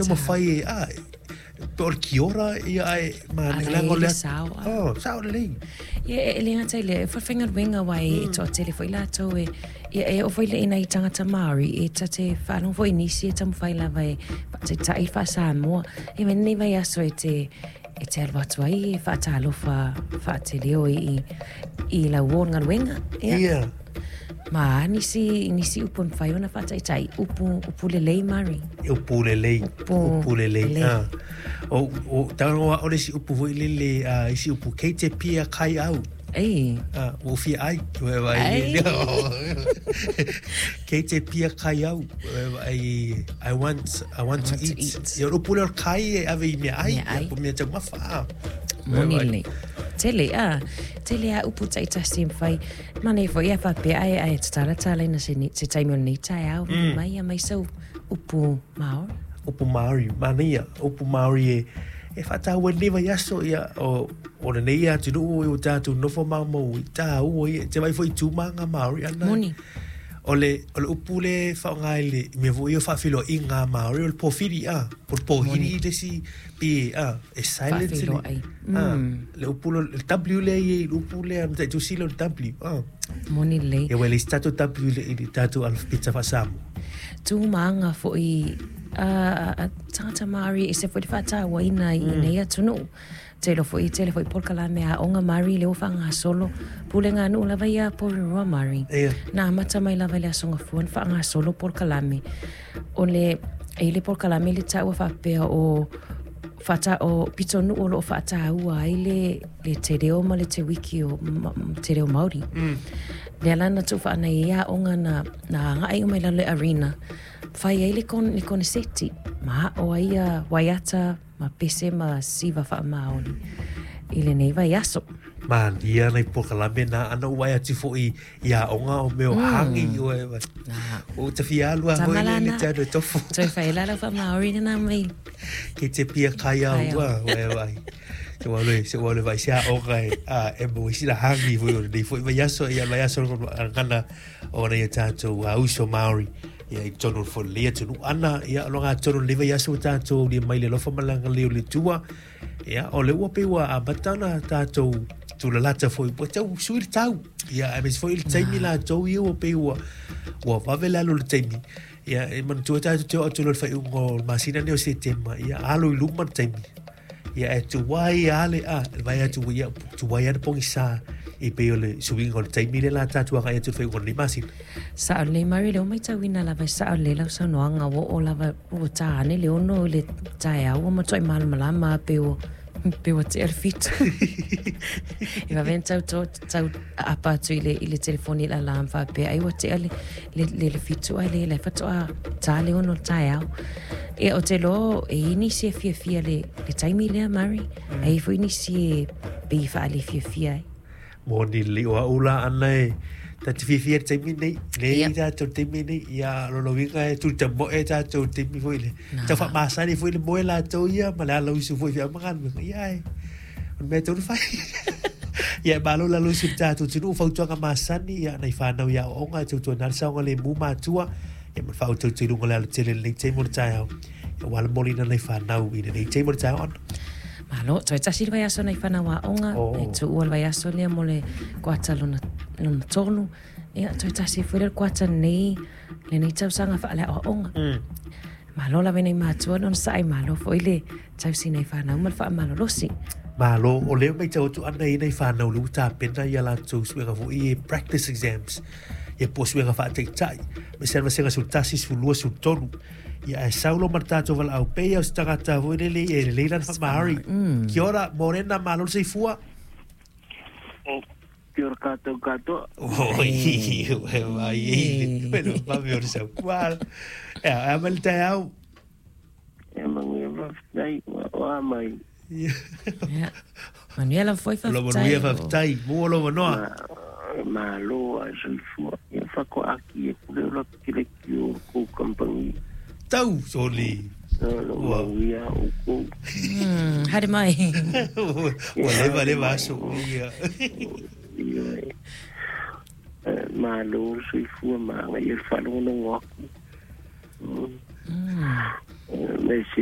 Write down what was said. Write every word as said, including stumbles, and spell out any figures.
Taumafai e a pe o le kiora ia ae manaia leaga o le oh sao lelei. Ia e le gata i lea e faafaigaluega uā e toatele foʻi latou e ia e oo foi le ina i tagata Māori e ta te faalogo foi i nisi e taumafai lava e faataitaʻi le faasamoa e mai lenei vaiaso e te e te alu atu ai e faatalofa faateleo i i lau uō le galuega ia Ia. Ma a nisi nisi upu e mafai ona faataitai upu upu lelei Mari. Upu lelei, Upu upu lelei. lelei. Ah. O o tago o le isi upu foi lele a isi upu kei te pia kai au. Ei. Ah, ua fia ai ua vai Ai. Kei te pia kai au ai I want I want to I want to eat. eat. Ia o le upu lea o le kai e ave i mea ai, Mea ai. po mea taumafa. Ah. Moni lelei. Tele a, tele a upu taitasi e mafai. Manaia foi a faapea ae ae tatala talaina se ni se taimi o lenei taeao vili mai aumai sau upu Māori. Upu Māori, manaia, upu Māori e e faataua i lenei vaiaso ia o o lenei atunuu e ua tatou nofo maumau i taua ia te vaai foi i tu ma ngā Māori ana. Moni. O le o le upu lea e faaaoga i le mea foi o faafeiloaiga a Māori o le pōwhiri a, po o le pōhiri Moni. le isi pe a e silent le Faafeiloai. a Mm. le upu le le W lea e i ai i le upu lea na taitusi lea o le W a. Moni lelei. Ia ua e leai se tatou W i le i le tatou alfapeta faa-Samoa. Tu ma aga foʻi a a tagata Māori e ese foi le faatauaina i nei atunuu. Tele foi tele foi polokalame aoga Māori lea ua faagasolo pulega a nuu lava ia Porirua Māori. Ia. Na amata mai lava i le aso gafua na faagasolo polokalame. O le e i le polokalame le taua faapea o faata o pitonuu o loo faataua ai le le te reo ma le te wiki o ma, te reo Māori. Mm. Lea la na tuufaanai ai aoga na na agaʻi uma i lalo le arena. Fai ai le kon le koneseti ma aʻo ai ia waiata ma pese ma siva faamaoni i lenei vaiaso. Manaia nai polokalame na ana ua vaai atu foʻi i aoga o mea o hangi o e Na. o te fia alu a foi le le Tamalana. te anu e tofo. Toe whaela lau faamaori lena mai. Kei te pia kai au Kai au. a ua vai. Se ua le se ua le vai se aoga e a e mo isi la hangi foi o lenei foi vaiaso ia vaiaso gana o nei tatou a uso Māori ia i totonu o le fono lenei atunuu ana ia o lo gatonu lenei vaiaso ua tatou aulia mai le alofa ma le agalelei o le Atua ia o le ua pei ua amata ona tatou tulalata foi ua tau sui le tau ia aemaise foi i le taimi latou ia ua pei ua ua vave le alu o le taimi ia e manatua tatou te oo atu loa i le faaiuga o le masina lenei o Setema ia alo i luma le taimi ia e tuai lava le a le vaai atu ia tuai lava le pogisa i pei o le suiga o le taimi lea la tatou agai atu i le faaiuga o lenei masina. Sao lelei Mari lea ua matauina lava e sao lelei lau saunoaga ua oo lava ua tā ane le ono i le taeao ua matuai malamalama pe ua pe ua tea le fitu. E vave ona tau to tau aapa atu i le i le telefoni i le alarm faapea ai ua tea le le le le fitu ae le la e faatoa tā le ono i le taeao. Ia o te iloa e i ai nisi e fiafia le le taimi lea Mari, e i ai foi nisi e pei e faalefiafia ai. Moni lelei o au la ana e ta te fiafia i le taimi lenei, lea Ia. i tatou i le taimi lenei, ia lona uiga e tulitamoe tatou i le taimi foi le Na. tau faamasani foi le moe latou ia ma le alausu foi i feau ma galuega. Ia e, o le mea e tatau ona fai. Ia e malo le alausu i le tatou atunuu, fautuaga masani, ia nai fanau i aoaoga e tautuana ai le saogalemu matua, ia ma le faautautau i luga o le alatele i lenei taimi o le taeao. Ia ua alamoliina nai fanau i lenei taimi o le taeao ana. Malo, toe tasi le vaiaso nai fanau aoga, Oh. e tuua le vaiaso lea mo le kuata lona, lona tolu. Ia, toe tasi foi lea le kuata lenei, lenei tausaga faaleaoaoga. Mm. Malo lava i nai matua le onosaʻi, malo foi le tausi nai fanau ma le faamalolosi. Malo, o lea matau atu ana i nai fanau lea ua tapena ia latou suega foi e practice exams. Ia po o suega faataitai. Ma se vasega sefulu tasi, sefulu lua, sefulu tolu. Ia ae sau loa ma le tatou valaau pei au se tagata foi lele e lelei lana faamaari. Mm. Kia ora, morena, malo le soifua. Kia ora kātou katoa. Oi, e vai e le le vave o le sau. Malo. Ia, a mai le taeao. E manuia faafetai ua oa mai. Ia. Manuia lava foi Lo faafetai. manuia faafetai. Mua lo manoa. Ma, malo a soifua. Ia whakoaki e kure ora kere ki o kou kampangi. Tau, soli. Lo Ua. mauia o kou. Mm, haere mai. Ua leva leva aso. Ia. Ia e. Eh, Malo le soifua maga ia le faalogologo aku. Mm. Mm. Eh, Me sili